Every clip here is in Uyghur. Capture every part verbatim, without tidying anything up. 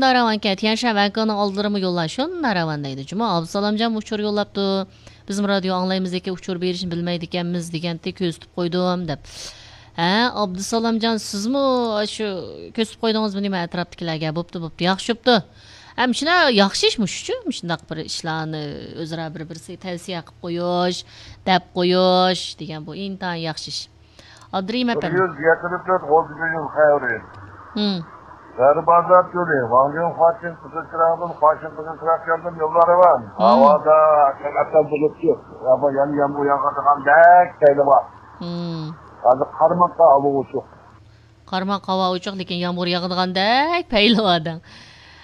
شۇنداق راۋانكەن، تيەنشان ۋەنكېڭنىڭ ئالدىلىرىمۇ يوللار شۇنداق راۋان دەيدۇ جۇمۇ. ئابدۇسالامجان ئۇچۇر يوللاپتۇ. بىزمۇ رادىيو ئاڭلايمىز، لېكىن ئۇچۇر بېرىشنى بىلمەيدىكەنمىز دېگەنتى، كۆزىتىپ قويدۇم دەپ. ھە، ئابدۇسالامجان، سىزمۇ شۇ كۆزىتىپ قويدىڭىزمۇ نېمە ئەتراپتىكىلەرگە؟ بوپتۇ، بوپتۇ، ياخشى بوپتۇ. ھە، مۇشۇنداق ياخشى ئىش مۇشۇچۇ، مۇشۇنداق بىر ئىشلارنى ئۆزئارا بىر-بىرسىگە تەۋسىيە قىلىپ قويۇش، دەپ قويۇش دېگەن بۇ ئىنتايىن ياخشى ئىش. ئابدۇرېھىم ئەپەندى. بىر يۈز يەتتە تۆت ئوتتۇز يۈز خەۋىرى. ھىم. غەربىي بازار چۆلى، ۋاڭجېن خۇاچىن قىزىل چىراغدىن، خۇاچىن قىزىل چىراغ كەلدىم، يوللار راۋان. ھىم. ھاۋادا ھەقىقەتەن بۇلۇتلۇق. ھاۋا يەنە يامغۇر ياغىدىغاندەك پەيلى بار. ھىم. ھازىر قارىماقتا ھاۋا ئوچۇق. قارىماق ھاۋا ئوچۇق، لېكىن يامغۇر ياغىدىغاندەك پەيلى بار دەڭ.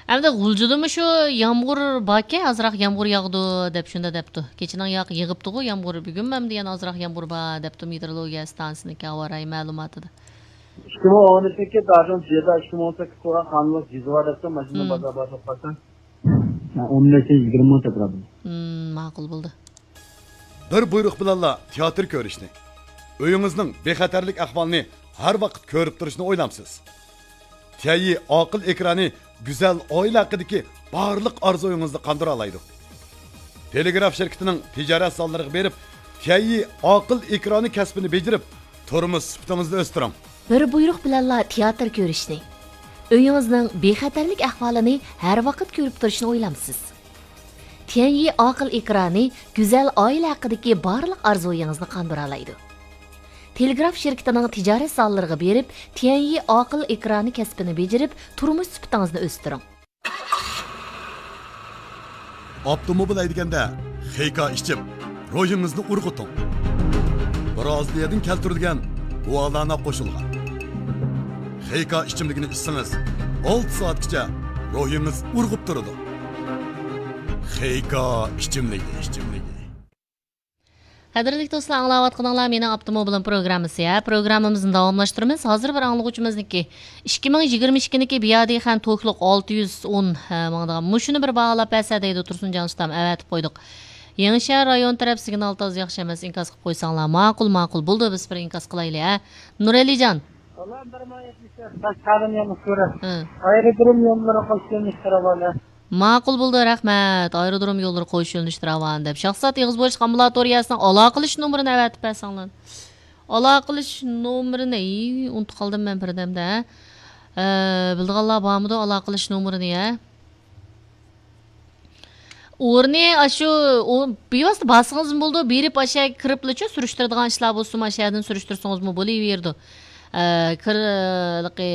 ئەمدى غۇلجىدىمۇ شۇ يامغۇر باركەن، ئازراق يامغۇر ياغىدۇ دەپ شۇنداق دەپتۇ. كېچىنىڭ ياق يېغىپتىغۇ يامغۇر، بۈگۈنمۇ ئەمدى يەنە ئازراق يامغۇر بار دەپتۇ مېتېئورولوگىيە ئىستانسىسىنىڭكى ھاۋا رايى مەلۇماتىدا. ئىككى مىڭ ئون ئۈچىنچى يىلدا ئىككى مىڭ ئون سەككىز قىلغان قانۇنلۇق جېزا بار دەپتۇ، ماشىنا ھىم. بازار بار توختاتسا. ئون بەشتىن يىگىرمە مىڭ تەكرار. ھىم، ماقۇل بولدى. بىر بۇيرۇق بىلەنلا تىياتىر كۆرۈشنى، ئۆيىڭىزنىڭ بىخەتەرلىك ئەھۋالىنى ھەر ۋاقىت كۆرۈپ تۇرۇشنى ئويلامسىز؟ تيەنيى ئاقىل ئېكرانى گۈزەل ئائىلە ھەققىدىكى بارلىق ئارزۇيىڭىزنى قاندۇرالايدۇ. تېلېگراف شىركىتىنىڭ تىجارەت زاللىرىغا بېرىپ، تيەنيى ئاقىل ئېكرانى كەسپىنى بېجىرىپ، تۇرمۇش سۈپىتىڭىزنى ئۆستۈرۈڭ. بىر بۇيرۇق بىلەنلا تىياتىر كۆرۈشنى، ئۆيىڭىزنىڭ بىخەتەرلىك ئەھۋالىنى ھەر ۋاقىت كۆرۈپ تۇرۇشنى ئويلامسىز؟ تيەنيى ئاقىل ئېكرانى گۈزەل ئائىلە ھەققىدىكى بارلىق ئارزۇيىڭىزنى قاندۇرالايدۇ. تېلېگراف شىركىتىنىڭ تىجارەت زاللىرىغا بېرىپ، تيەنيى ئاقىل ئېكرانى كەسپىنى بېجىرىپ، تۇرمۇش سۈپىتىڭىزنى ئۆستۈرۈڭ. ئاپتوموبىل ھەيدىگەندە خېيكا ئىچىپ، روھىڭىزنى ئۇرغۇتۇڭ. برازىلىيەدىن كەلتۈرۈلگەن گۇالانا قوشۇلغان خېيكا ئىچىملىكىنى ئىچسىڭىز، ئالتە سائەتكىچە روھىڭىز ئۇرغۇپ تۇرىدۇ. خېيكا ئىچىملىكى، ئىچىملىكى. قەدىرلىك دوستلار، ئاڭلاۋاتقىنىڭلار مېنىڭ ئاپتوموبىلىم پروگراممىسى. ھە، پروگراممىمىزنى داۋاملاشتۇرىمىز. ھازىر بىر ئاڭلىغۇچىمىزنىڭكى ئىككى مىڭ يىگىرمە ئىككىنىڭكى بيادىخەن توكلۇق ئالتە يۈز ئون، ھە، ماڭىدىغان مۇشۇنى بىر باھالاپ بەرسە دەيدۇ تۇرسۇنجان ئۇستام، ئەۋەتىپ قويدۇق. يېڭىشەھەر رايون تەرەپ سىگنال تازا ياخشى ئەمەس، ئىنكاس قىلىپ قويساڭلار. ماقۇل، ماقۇل. بولدى، بىز بىر ئىنكاس قىلايلى، ھە. نۇرئەلىجان. ئۇلار بىر مىڭ يەتمىش تۆت، باشقارما يەنە سۈرە. ھە. ئايرودروم يوللىرى قوش يۆنىلىشتە راۋان. ماقۇل بولدى، رەھمەت. ئايرودروم يوللىرى قوش يۆنىلىشتە راۋان دەپ. شاخسات ئېغىز بويىچە ئامبۇلاتورىيەسىنىڭ ئالاقىلىشىش نومۇرىنى ئەۋەتىپ بەرسەڭلار. ئالاقىلىشىش نومۇرىنى، ئى، ئۇنتۇپ قالدىم مەن بىردەمدە. ئە، بىلىدىغانلار بارمىدۇ ئالاقىلىشىش نومۇرىنى، ھە؟ ئورنى ئاشۇ، ئۇ بىۋاسىتە بارسىڭىزمۇ بولىدۇ، بېرىپ ئاشۇ يەرگە كىرىپلىچۇ، سۈرۈشتۈرىدىغان ئىشلار بولسىمۇ ئاشۇ يەردىن سۈرۈشتۈرسىڭىزمۇ بولۇۋېرىدۇ. ئە، كىر-، ھېلىقى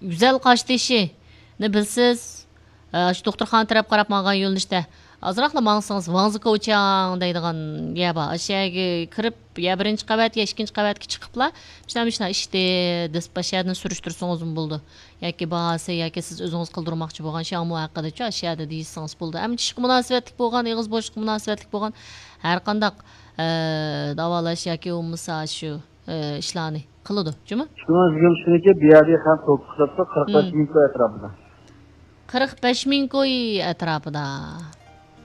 گۈزەل قاشتېشىنى بىلسىز، ئە، ئاشۇ دوختۇرخانا تەرەپ قاراپ ماڭغان يۆنىلىشتە ئازراقلا ماڭسىڭىز، ۋاڭزىكوچياڭ دەيدىغان يەر بار. ئاشۇ يەرگە كىرىپ، يا بىرىنچى قەۋەت، يا ئىككىنچى قەۋەتكە چىقىپلا، مۇشۇنداق، مۇشۇنداق ئىشتى دېسىپ، ئاشۇ يەردىن سۈرۈشتۈرسىڭىزمۇ بولىدۇ. ياكى باھاسى، ياكى سىز ئۆزىڭىز قىلدۇرماقچى بولغان شامۇ ھەققىدىچۇ ئاشۇ يەردە دېيىشسىڭىز بولىدۇ. ئەمما چىشقا مۇناسىۋەتلىك بولغان، ئېغىز بوشلۇققا مۇناسىۋەتلىك بولغان، ھەر قانداق، ئە، داۋالاش ياكى بولمىسا شۇ، ئە، ئىشلارنى قىلىدۇ، جۇمۇ؟ شۇنىڭ يىگىرمە ئۈچىنچى بىيادى خەن توكۇس قىلىپتۇ، قىرىق بەش مىڭ كوي ئەتراپىدا. قىرىق بەش مىڭ كوي ئەتراپىدا.